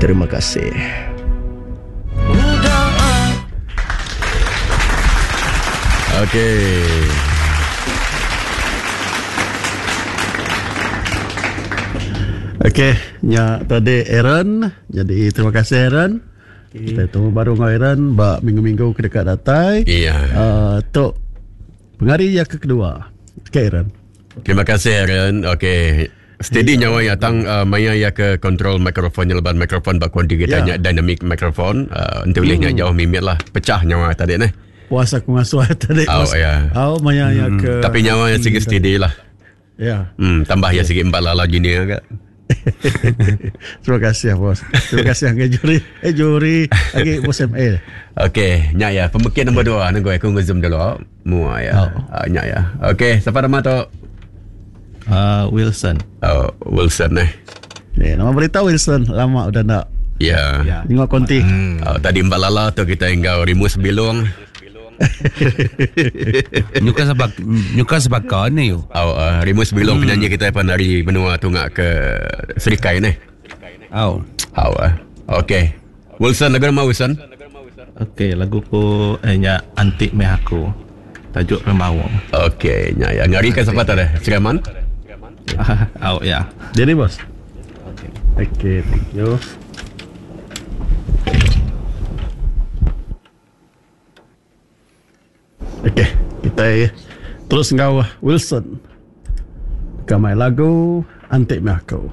Terima kasih. Okey. Okey, nya tadi Aaron. Jadi terima kasih Aaron. Okay. Kita temu baru dengan Aaron ba minggu-minggu ke deka datai. Iya. Uh, tu pengari yang kedua. Okey Aaron. Terima kasih Aaron. Okey. Steady nyawa iya tang uh, maya iya ke control mikrofon nya laban mikrofon ba kuanti kita yeah. nya dynamic mikrofon uh, enti ulih nya hmm. jauh mimit lah pecah nyawa tadi neh. Puas aku ngasuh tadi. Oh ya. Oh maya iya hmm. ke Tapi nyawa iya sigi steady lah. Ya. Hmm, tambah iya sigi empat lala junior ke. Terima kasih bos. Terima kasih angge juri. Eh juri agi bos MA. Okey, nya ya. Pemekit nombor 2 nunggu aku ngezoom dulu. Mua ya. Oh. Uh, nya ya. Okey, siapa nama tu? Uh, Wilson. Oh, Wilson eh. Eh, nama berita Wilson lama udah nak. Ya. Yeah. Tengok konti. Hmm. Oh, tadi Mbak Lala tu kita enggau Rimus Bilung. Nyuka sebab nyuka sebaka ni yo. Oh, uh, Rimus Bilung hmm. penyanyi kita pan dari benua tunga ke Serikai ni. Oh. Oh. Uh. Okey. Wilson lagu nama Wilson? Okey, lagu ku eh nya antik meh aku. Tajuk Rembawang. Okey, nya ya. Ngari kan siapa tadi? Siraman? Oh ya. Jadi bos. Okey. Okey, thank you. Okey, kita terus enggau Wilson. Kamai lagu Antik Meh Aku.